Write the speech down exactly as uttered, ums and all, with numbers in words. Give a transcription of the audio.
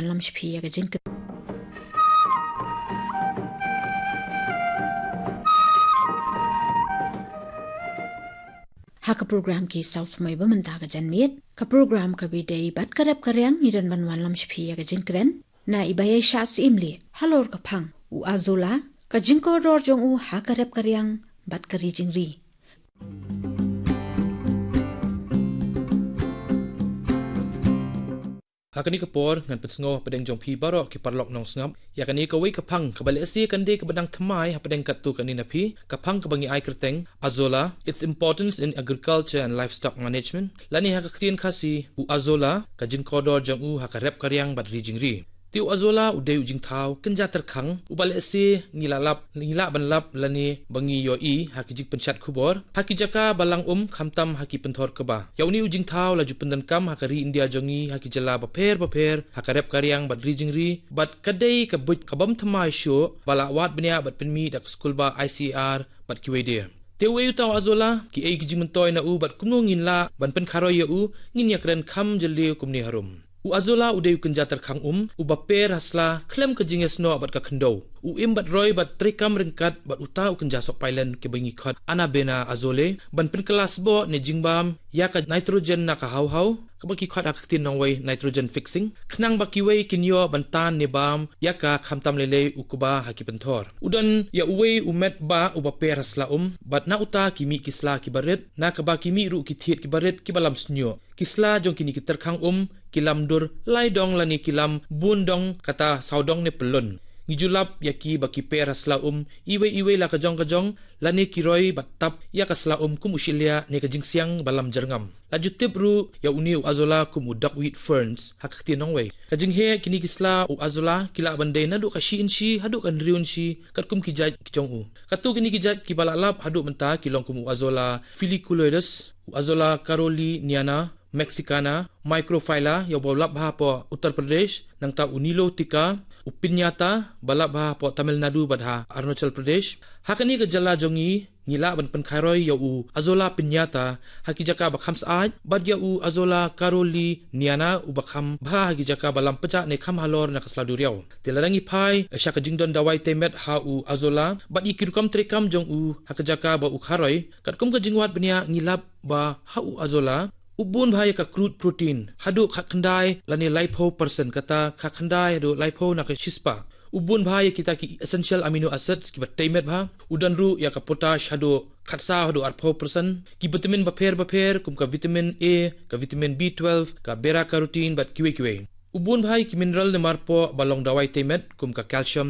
Lam shiphi ïa ka jingkren. Ha ka program Ki Saw Samoi ba mynta ka janmiet, ka program kaba ïadei bad ka rep ka riang, ngi don ban wanlam shiphi ïa ka jingkren na i Baieishah Syiemlieh halor ka phang U Azola, ka jingkordor jong u ha ka rep ka riang bad ka ri jingri. Ha kane ka por ngan pynsngew hapdeng jong phi baroh ki paralok nongsngap ïa kane kawei ka phang kaba lehse kan dei kaba dang thymmai hapdeng katto katne na phi, ka phang kaba ngi ai kyrteng Azola, its importance in agriculture and livestock management, lane ha ka ktien Khasi, U Azola, ka jingkordor jong u ha ka rep ka riang bad ri jingri. Te U Azola u dei u jingthaw kynja tyrkhang uba lehse ngi la lap, ngi lah ban lap lane ba ngi ïohi ha ki jingpynshad khubor ha ki jaka ba lang um, khamtam ha ki pynthor kba. Ïa une u jingthaw la ju pyndonkam ha ka ri India jong ngi ha ki jylla bapher bapher ha ka rep ka riang bad ri jingri, bad ka dei ka buit kabym thymmai shuh ba la wad bniah bad pynmih da ka skulbah I C A R bad kiwei de. Te uei uta U Azola, kiei ki jingmyntoi na u bad kumno ngin lah ban pynkharoi ïa u, ngin ïakren kham jylliew kumne harum. U Azola u dei u kynja tyrkhang um uba per ha sla khlem ka jingïasnoh bad ka khyndew. U im bad roi bad treikam ryngkat bad uta u kynja sohpailen kaba ngi khot Anabaena azole ban pynkylla sboh ne jingbam ïa ka nitrogen na ka hawhaw, kaba ki khot ha ka ktien nongwei nitrogen fixing, khnang ba kiwei kin ïoh ban tan ne bam ïa ka, khamtam lei lei u kba ha ki pynthor. U don ïa uwei u met bah uba per ha sla um, bad na uta ki mih ki sla kiba rit, na kaba ki mih ruh ki thied kiba rit kiba lam shñiuh. Ki sla jong kine ki tyrkhang um ki lam dur lai dong lane ki lam bun dong, kata saw dong ne pyllun. Ngi ju lap ïa ki ba ki per ha sla um iwei iwei la ka jong ka jong, lane ki roi bad tap ïa ka sla um kum u shiliah ne ka jingsiang ba lam jyrngam. La ju tip ruh ïa une U Azola kum u duckweed ferns ha ka ktien nongwei. Ka jingheh kine ki sla U Azola ki lah ban dei naduh ka shi inshi haduh ka hynriew inshi, katkum ki jait ki jong u. Katto kine ki jait kiba la lap haduh mynta ki long kum U Azola filiculoides, U Azola caroliniana, Mexicana, Microphylla, ïa uba u lap bha hapoh Uttar Pradesh, nangta u Nilotica, u Piñata, ba lap bha hapoh Tamil Nadu bad ha Arunachal Pradesh. Ha kane ka jylla jong ngi, ngi lah ban pynkharoi ïa u Azola piñata ha ki jaka ba kham syaid, bad ïa u Azola caroliniana uba kham bha ha ki jaka ba lam pjah ne kham halor na ka sla duriaw. Te lada ngi phai sha ka jingdon dawai tei met ha u Azola bad ïa ki rukom treikam jong u ha ka jaka ba u kharoi, katkum ka jingwad bniah ngi lap ba ha u Azola u bun bha ïa ka crude protein haduh khatkhyndai lane laiphew percent, kata khatkhyndai haduh laiphew na ka shispah. U bun bha ïa kita ki essential amino acids kiba tei met bha. U don ruh ïa ka potash haduh khatsaw haduh arphew percent, ki vitamin bapher bapher kum ka vitamin A, ka vitamin B twelve, ka beta carotene bad kiwei kiwei. U bun bha ïa ki mineral ne marpoh ba long dawai tei met kum ka calcium,